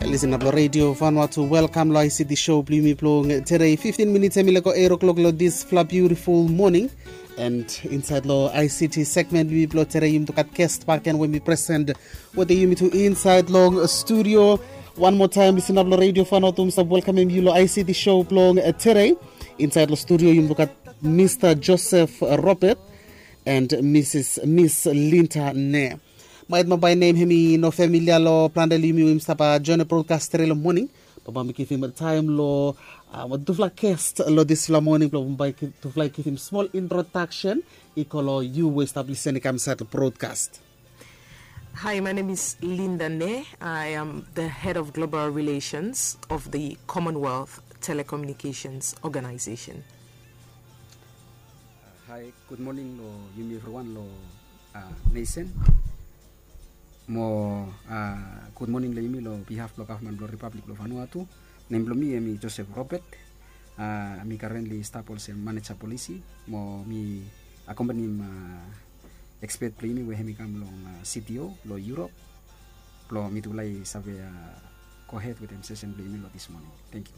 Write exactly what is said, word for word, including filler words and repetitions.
Lisin ap long redio Vanuatu, welkam long I C T show blong yumi blong tere. Fiftin minits em i lego eight o'clock long disfala biutiful moning. And insaed long I C T segment blong yumi blong tere, yumi tu gat guest bakegen we mi present wetem yumi tu insaed long studio. Wan moa taem, lisin ap long redio Vanuatu, mi stap welkamem yu long I C T show blong tere. Insaed long studio yumi tu gat Mista Joseph Robert and Misis Miss Linda Ne. Maet mo bae nem hem i no familia long plante long yumi we yumi stap joen long broadcast tere long moning. Bambae mi givim taem long tufala guest long disfala moning blong bambae tufala i givim smol introdaksen i go long yu we i stap lisin i kam insaed long broadkast. Hi, my name is Linda Ne. I am the head of global relations of the Commonwealth Telecommunications Organization. Hi, gud moning long yumi evriwan long nesen. Mo gud moning long yumi long bihaf blong gavman blong Ripablik blong Vanuatu. Nem blong mi hem i Joseph Robert. Mi currently stap olsem maneja polisi mo mi akompanim ekspet blong yumi we hem i kam long C T O long Europe blong mitufala i save gohed wetem sesen blong yumi long dis moning. Tangkiu.